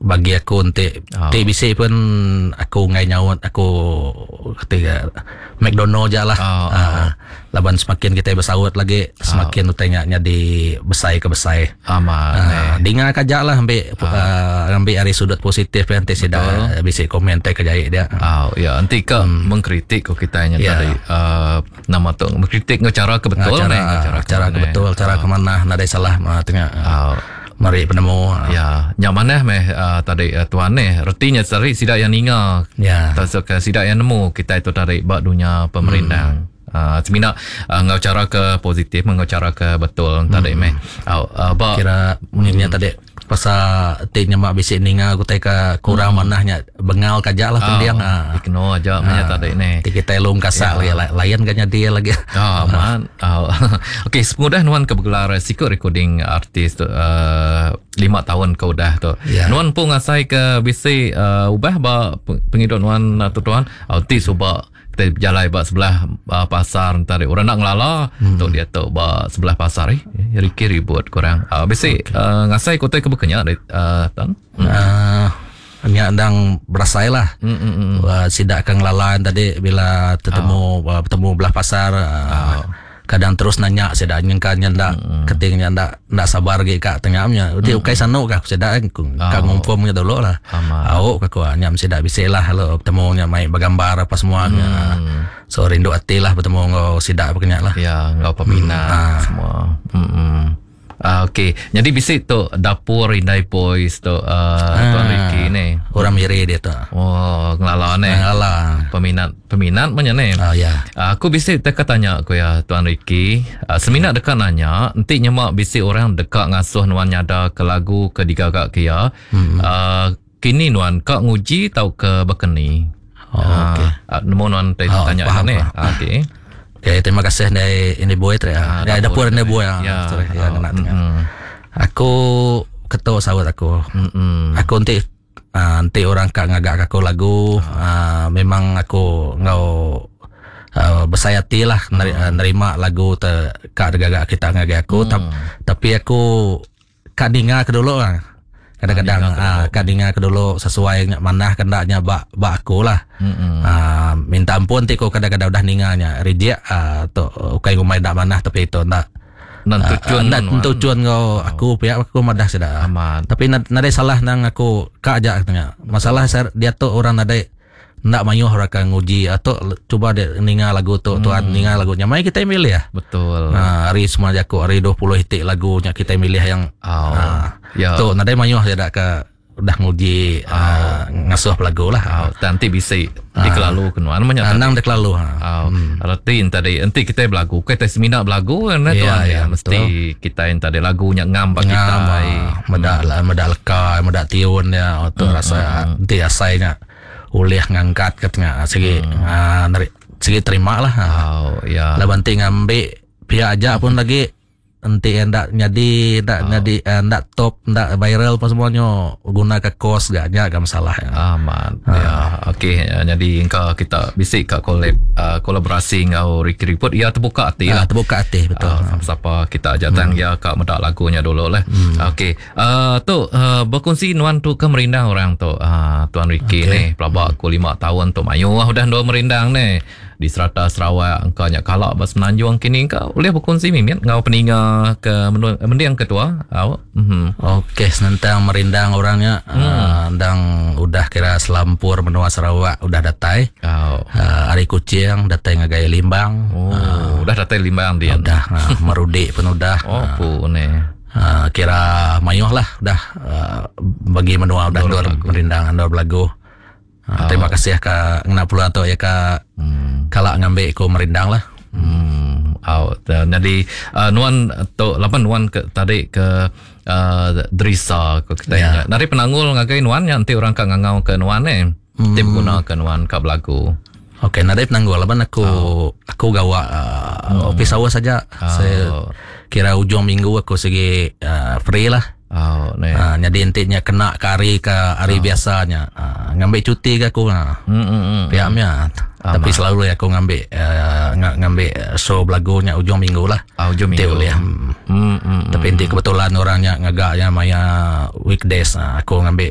Bagi aku enti ti bisi pun aku enggai nyaut aku ti McDonald ja lah. Aaa laban semakin kitai besaut lagi semakin utai nya nyadi besai ke besai. Aaa dinga ka aja lah ambi aaa ambi ari sudut positif iya enti sida bisi komen tai ke jai dia. Au ya enti ka mengkritik ko kitai nya tadi aaa nama tu mengkritik enggau chara ke betul meh chara ke betul chara ke manah nadai salah tengah. Meri penemu. Ya, nya manah meh uh, tadi uh, tuan ni. Reti nya tadi sida yang ninga. Ya. Tauka sida yang nemu kitai tu tadi ba dunya pemerindang. Hmm. Uh, semina uh, enggau cara ke positif enggau cara ke betul hmm. tadi meh. Uh, uh, ba kira munyi hmm. tadi pasal ti nyema bisi ninga utai ke kurang hmm. manah nya bengal ka aja lah pending. Oh, ah. Ignore aja meh ah. tadi ni. Ti kitai lung kasak yeah. lagi lain ga nyadi lagi. Ah, man. Oh. Okey, sepengudah nuan ke begelar siku recording artis tu uh, lima tahun ke udah tu. Yeah. Nuan pun ngasai ke bisi uh, ubah ba pengidup nuan tu tuan. Oh, ti suba kita berjalai ba sebelah uh, pasar tadi orang nak ngelala hmm. tu dia tu ba sebelah pasar eh Ricky ribut kurang. Uh, bisi okay. uh, ngasai kota ke bekenya uh, tuan. Hmm. Uh, Nya endang berasai lah. Mm, mm, mm. Uh, sida ke ngelala tadi bila tetemu oh. uh, betemu belah pasar uh, oh. kadang terus nanya sida nyengka nya ndak mm. keting nya ndak ndak sabar lagi ka tengah nya. Uti mm. ukai sanu ka sida eh, ka oh. ngumpum nya dulu lah. Au ka ku nya sida bisi lah lalu betemu nya mai begambar apa semua nya. Mm. So rindu ati lah betemu enggau sida bekenya lah. Ya, enggau peminat mm. semua. Mm. Uh, Okey, jadi bisi tu dapur Indai Boys tu uh, ah, Tuan Ricky ni. Orang Miri dia tu. Oh, ngelala ni. Ngelala. Peminat peminat banyak ni. Oh, ya. Uh, aku bisi deka tanya aku ya Tuan Ricky. Uh, semina deka nanya, enti nyema bisi orang deka ngasuh nuan nyada ke lagu ke digaga ke iya. Hmm. Uh, kini nuan ka nguji tauka bekeni? Oh, okey. Uh, nemu nuan oh, tanya ni. Okey. Okay, terima kasih dari ini boy tu ya. Dari dapur ini boy ya. Ya, sorry, ya kena tengah. Mm. Aku ketuk saut aku. Mm-mm. Aku nanti uh, nanti orang kak ngagak aku lagu uh, memang aku ngau uh, besai hati lah neri, uh, nerima lagu te kak gagak kita ngagai aku mm. tapi aku Ka ninga ke dulu lah. Kadang-kadang ah, ka ninga ke dulu sesuai nya manah ke enda nya ba ba aku lah. Ah, minta ampun ti ku kadang-kadang udah ninga nya reject ah, tu ukai ngumbai enda manah tapi tu enda Enda ah, tuchun enda nuan. tuchun enggau aku pia aku madah sida. Amat. Tapi nadai salah nang aku ka aja nya. Masalah diatu orang nadai Enda mayuh orang ke nguji tu cuba dek ninga lagu tu tuan ninga lagu nya mai kitai milih. Betul. Ha, ari semua jaku ari 20 iti lagu nya kitai milih yang Oh. ha, Ya. tu nadai mayuh sida ke udah nguji oh. uh, ngasuh belagu lah. Oh, dan ti bisi dikelalu ke nuan menya. Anang dikelalu ha. Oh, hmm. Reti tadi enti kitai belagu, kitai semina belagu kan ya, tuan ya, mesti kitai tadi lagu nya ngam ba kitai. Meda hmm. meda leka, meda tiun ya, tu hmm. rasa hmm. enti asai nya. ulih ngangkat ke tengah sigi hmm. uh, neri, sigi terima lah. Oh, ya. Laban ti ngambi pia aja pun lagi enti ndak nyadi ndak oh. nyadi eh, ndak top ndak viral apa semuanya guna ke kos gak nya gak masalah ya. Aman. Ha. Ya, okey ya, jadi engka kita bisi ka collab uh, kolaborasi enggau Ricky Riput ya terbuka hati lah. Terbuka hati betul. Uh, siapa kita aja tang hmm. ya ka meda lagunya dulu lah. Hmm. Okey. Uh, tu uh, berkongsi nuan tu ke merindang orang tu uh, Tuan Ricky okay. ni pelaba aku 5 tahun tu mayuh udah dua merindang ni di serata Sarawak engkau nya kalak ba Semenanjung kini engkau boleh berkongsi mimit ngau peninga ke mending ke tua au mm-hmm. Okey senentang merindang orangnya hmm. uh, endang udah kira selampur menua Sarawak udah datai oh. uh, ari Kuching datai ngagai Limbang oh uh, udah datai Limbang dia udah uh, Merudi pun udah oh uh, pu ni Uh, kira mayuh lah udah uh, bagi menua udah endur merindang endur belagu. Uh, terima kasih ka ngena peluang tu ya ka hmm. kala ngambi ku merindang lah. Hmm. Oh, jadi uh, nuan tu laban nuan ke tadi ke uh, Drisa ke kita yeah. Dari penanggul ngagai nuan nya enti orang ka ngangau ke nuan ni. Hmm. Ti beguna ke nuan ka belagu. Okey, nadai penanggul laban aku oh. aku gawa uh, hmm. office hours saja. Oh. Saya kira ujung minggu aku segi uh, free lah. Oh, ne. Uh, jadi enti nya kena ke hari ke hari oh. biasanya uh, ngambil cuti ke aku. Uh. Hmm, hmm, hmm. Pihaknya. Hmm. Tapi selalu aku ngambil uh, ngambil show belagunya ujung minggu lah. Oh, ujung minggu. Boleh. Hmm. Hmm, hmm, Tapi enti kebetulan orangnya ngagaknya maya weekdays uh, aku ngambil.